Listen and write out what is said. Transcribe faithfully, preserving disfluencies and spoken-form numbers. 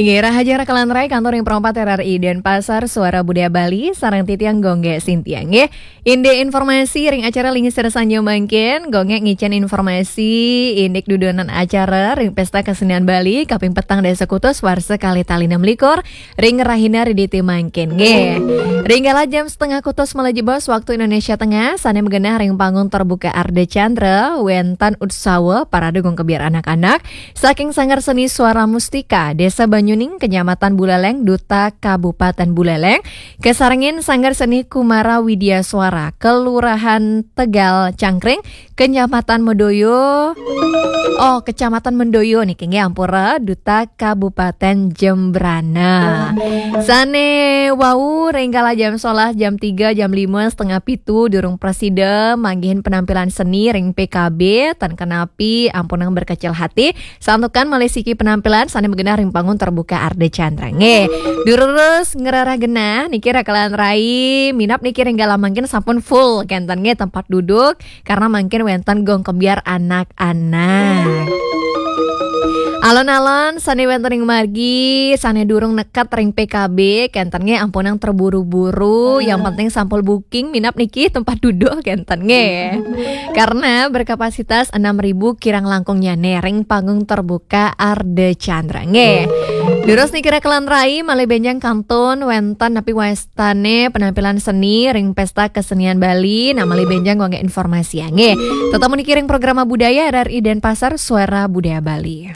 Inggih, rahajeng raka lan rai, kantur ring Pro empat R R I Denpasar, Suara Budaya Bali, sareng titiang Gung Gé Sintia, nggih. Indik informasi ring acara Linggih Sira Sanjung mangkin, Gung Gé ngicén informasi indik dudonan acara ring Pésta Kesenian Bali kaping petang dasa kutus warsa kalih tali enam likur ring rahina Riditi mangkin, nggih. Ring galah jam setengah kutus malih jebos waktu Indonesia Tengah, sané magenah ring panggung terbuka Ardha Candra, wénten utsawa parade Gung Kebyar anak-anak, saking Sanggar Seni Suara Mustika, Désa Banyuning, Kecamatan Buleleng, Duta Kabupaten Buleleng, kasarengin Sanggar Seni Kumara Widya Suara, Kelurahan Tegal Cangkring, Kecamatan Mendoyo, oh, Kecamatan Mendoyo niki, nggih, ampura, Duta Kabupaten Jembrana. Sané wau ring kala jam sebelas, jam tiga, jam lima, setengah pitu, durung prasida manggihin penampilan seni ring P K B, tan kenapi, ampunang berkecil hati, santukan malih siki penampilan sané magenah ring panggung terbuka Ardha Candra. Nggih, durus ngrereh genah niki raka lan rai, minab niki ring galah mangkin sampun full kénten, nggih, tempat duduk, karena mangkin wénten Gung Kebyar anak-anak. Alon-alon sané wénten ring margi, sané durung neket ring P K B, kénten, nggih, ampunang terburu-buru, yang penting sampun booking minab niki tempat duduk, kénten, nggih. Karena berkapasitas enam ribu kirang langkungnyané ring panggung terbuka Ardha Candra, nggih. Durus niki raka lan rai, malih bénjang kantun wénten napi wastané penampilan seni ring Pésta Kesenian Bali, nah, malih bénjang Gung Gé informasi, nggih. Tetep niki ring Programa Budaya R R I Denpasar, Suara Budaya Bali.